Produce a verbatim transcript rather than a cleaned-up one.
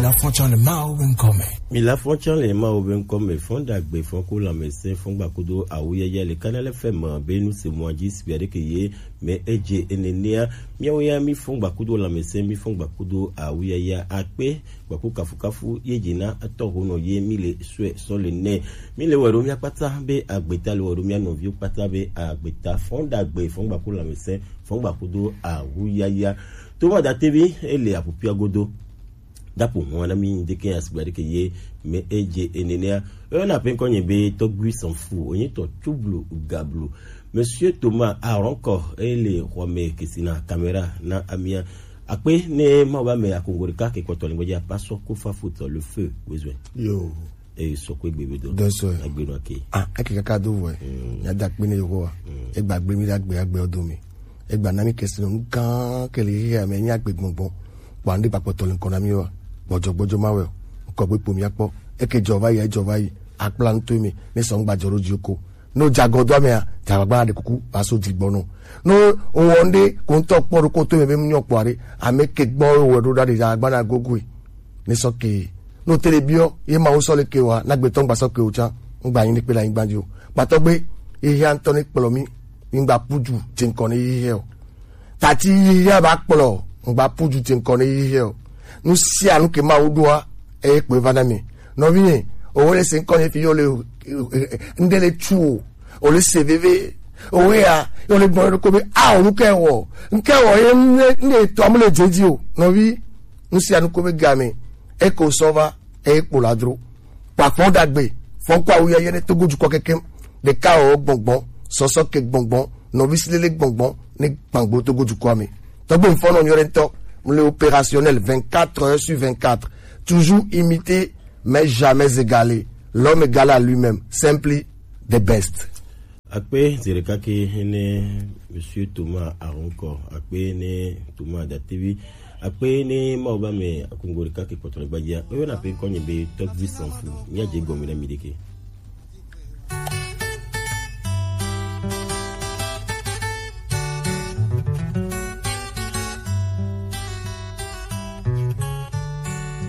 La fɔn tsã le Mawu be ŋkɔ me. Mi la fɔn tsã le Mawu be ŋkɔ me. Fɔn ɖagbe, fɔn ko lãmesẽ, fɔn gbakudo awuyaya le Kanal F M be nu se mɔa dzi si aɖe ke ye me edze enenea. Miawo ya mi fɔn gbakudo lãmesẽ, mi fɔn gbakudo awuyaya akpe gbaku kafukafu ye dzi na etɔ honɔ ye mi le sue sɔ le nɛ. Mi le wɛ ɖo mia kpata be agbeta, le wɛ ɖo mia nɔviwo kpata be agbeta. Fɔn ɖagbe, fɔn gbaku lãmesẽ, fɔn gbakudo awuyaya. To ma da tevi ele apupia godo. Dapo hɔn na mi deke asigba deke ye me edze enenea. Ena pe ŋkɔ nye be Tɔgbui Sanfu, onye tɔ Tublu Gablu. Monsieur Thomas Aronkɔ, ele xɔ me kesina caméra na amia. Akpe ne ma ba me akongo ɖeka ke kpɔtɔ le gbedzi apa sɔ ko fa footɔ le feu wezwe. Yo. Eye sɔ ko egbe be do. Dɔ sɔ. Egbe nɔ ke. Ah, eke kaka do vɔ. Mm. Ya da kpe ne yo wa. Mm. Egba gbe mi da gbe agbe odo mi. Egba na mi kesina nu gã ke le xexea me nye agbe gbɔngbɔn. Kpɔ anu ɖe gba kpɔtɔ le ŋkɔ na mi wa. Gbɔdzɔ gbɔdzɔ ma wɛ o. Ŋkɔ gbe kpo mi akpɔ. Eke dzɔ va yi, edzɔ va yi. Akpla ŋutɔ mi. Ne sɔ ŋgba dzɔ ɖo dzi ko. No dza gɔdo amea, dza gbagba ɖe kuku va so dzi gbɔ no. No wɔ ŋɖe ko ŋutɔ kpɔ ɖo ko to me be mu nyɔ kpɔ aɖe. Ame ke gbɔ wɔ ɖo ɖa ɖe dza gbagba na gogoe. Ne sɔ ke. No te le biɔ, ye ma wo sɔ le ke wa, na gbetɔ ŋgba sɔ ke o tsa. Ŋgba nyi ne kpe la nyigba dzi o. Kpatɔ gbe, ye hia ŋutɔ ne kplɔ mi. Mi ŋgba pu dzu dze ŋkɔ ne yi hɛ o. Tati yi hɛ ba kplɔ, ŋgba pu dzu dze ŋkɔ ne yi hɛ o. Nu sia nu ke Mawu ɖoa, eye kpoe va na mi. Nɔvinye, owo le se ŋkɔ ne fi yo le, eh, eh, ŋɖe le tu o, o le se veve, owe ya, yo le gbɔn ɖo ko be, a, o nu ke wɔ, ŋke wɔ ye ne, ne tɔ mu le dze dzi o, nɔvi, nu sia nu ko be game, eko sɔ va, eye kpo la dro. Kpa fɔn ɖagbe, fɔn ko awu yeye ne Togo dukɔ kekem. Ɖeka wɔ gbɔngbɔn, sɔsɔ ke gbɔngbɔn, nɔvi silele gbɔngbɔn, ne gbangbo Togo dukɔ me. Tɔgbe mfɔnɔ nyɔ ɖe ŋutɔ, mu le opérationnel vingt-quatre heures sur vingt-quatre. Toujours imité, mais jamais égalé. L'homme égal à lui-même, simply the best. Akpe zi ɖeka ke ne Monsieur Thomas Aronkɔ, akpe ne Thomas Datevi, akpe ne Mawu ba me akungo ɖeka ke kpɔtɔ le gbadzia. Oyɔna pe ŋkɔ nye be Tɔgbi Sanfu. Mia dze gɔme na mi ɖeke.